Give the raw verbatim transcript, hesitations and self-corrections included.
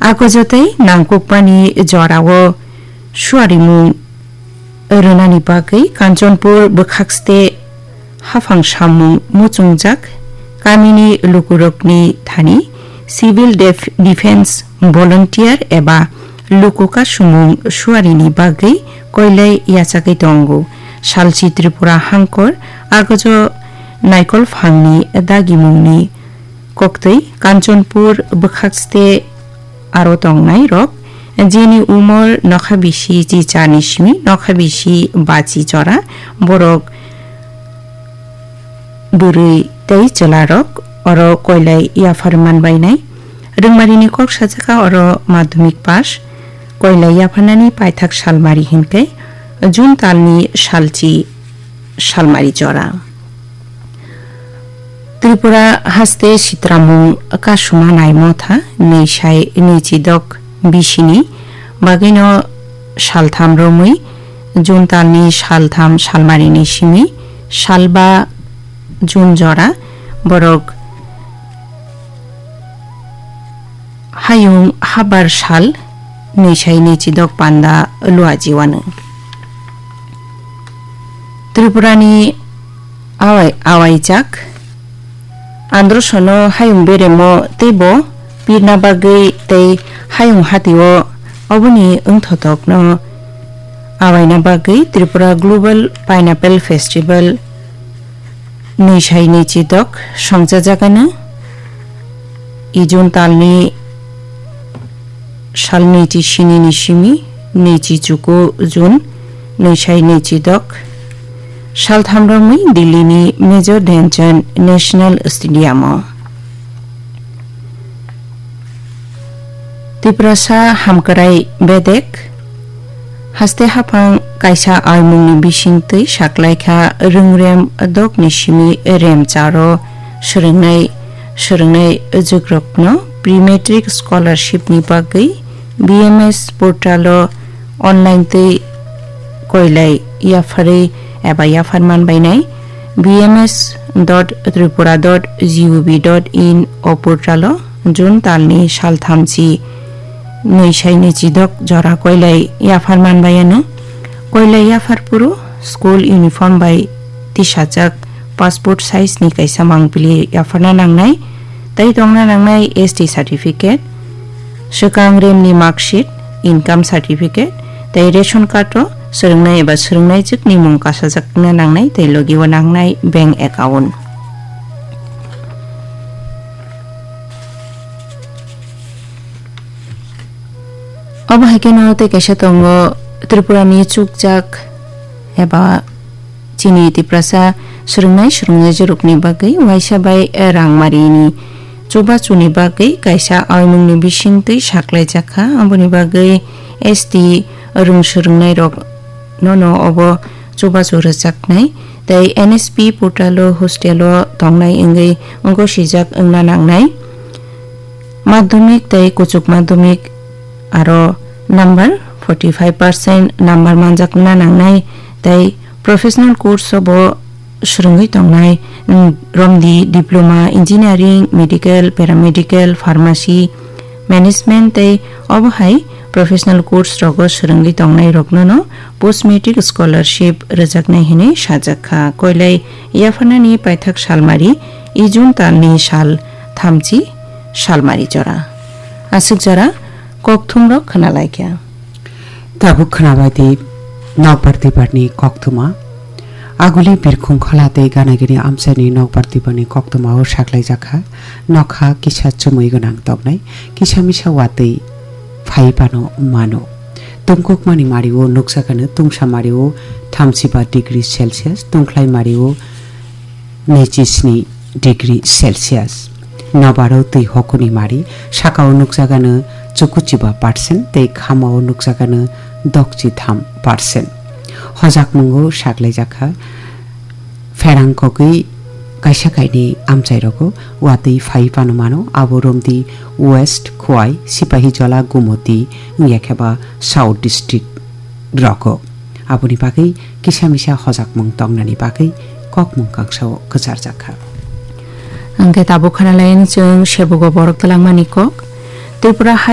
Agojo tei nangkukmani jorao suarimung rwnani bagwi Kanchanpur bwkhakste haphang samung muchungjak kamini lukurokni thani Civil Def-, Defence Volunteer eba luku kasumung suarini bagwi koilai yachagwi tongo. Salchi Tripura hangkor agojo naikolphangni dagimungni koktwi Kanchanpur bwkhakste aro tongnai rok, jeni umor nokha bisi chi chani simi nokha bisi bachi jora, borok bwrwi tei chwlarok oro koilai yaphar manbainai. Rwngmarini kok sajaka oro madhyamik pass, koilai yapharnani paithak salmari hinkhe June talni salchi salmari jora. Tripura haste sitramung kasuma nai motha nwisai nwichidok bisini bagwino saltham romwi June talni saltham salmarini simi salba June jora borok hayung habar sal nwisai nwichidok panda luajiwano. Tripurani awai-, awaijak androsono hayung beremo teibo pirna bagwi tei hayung hatio oboni wngthotokno awaina bagwi Tripura Global Pineapple Festival nwisai nwichidok songchajagano. I June talni salni chi sinini simi nwichi chuku June nwisai nwichidok saltham romwi Delhi ni Major Dhyan Chand National Stadium o. Tiprasa hamkrai bedek haste haphang kaisa aimungni bisingtwi saklaikha rwngrem dokni simi remcharo swrwngnai, swrwngnai jugrokno pre-matric scholarship ni bagwi B M S portal o online twi koilai yapharwi eba yaphar manbainai B M S dot tripura dot G O V dot in o portal o June talni salthamchi nwisai nwichidok jora koilai yaphar manbaiano. Koilai yaphar phuru school uniform bai tisajak passport size ni kaisa mangpili yapharna nangnai, tei tongna nangnai S T certificate, swkang remni marksheet, income certificate, tei ration card o swrwngnai eba swrwngnaijwkni mung kasajakna nangnai tei logi o nangnai bank account. Obo hai kheno tei kaisa tongo Tripura ni chukjak eba chini Tiprasa swrwngnai swrwngnaijwkrokni bagwi waisa bai rangmarini chubachuni bagwi kaisa aimungni bisingtwi saklaijak kha. Aboni bagwi S T rwng swrwngnairok nono obo chubachu rwchapnai tei N S P portal o hostel o tongnai wngwi gosijak wngna nangnai. Madhyamik tei kuchuk madhyamik aro number forty five percent number manjakna nangnai tei professional course o bo swrwngwi tongnai, mm, romdi diploma, engineering, medical, paramedical, pharmacy, management tei obo hai professional course rogo swrwngwi tongnai rokno no post matric scholarship rwjaknai hinwi sajak kha. Koilai yapharnani paithak salmari i June talni sal thamchi salmari jora. Aswk jora kokthumrok khwnalaikha. Tabuk khwnabaidi nokbar twibarni koktwma. Aguli birkhung khola tei ganagini amchaini nokbar twibarni koktwmao saklaijakha nokha kisa chumui gwnang toknai kisa misa watwi phai phano mano. Tungkukmani mario nukjakano tungsa mario thamsiba degree Celsius, tungkhlai mario naichi sni degree Celsius. Nobaro twi hokuni mari sakao nukjagano chukuchiba percent tei khamao nukjagano dokchi tham percent. Hojakmungo saklaijakha pherang kogwi kaisa kainwi amchairogo watwi phai phano mano, abo romdi West, Khowai, Sipahijola, Gumoti wngya khe ba South District rogo. Aboni bagwi kisa misa hojakmung tongnani bagwi kokmung kangsao kwcharjakha. Hwnkhe tabuk khwnalayan chwng sebugo borok twlangmani kok. Tripura hai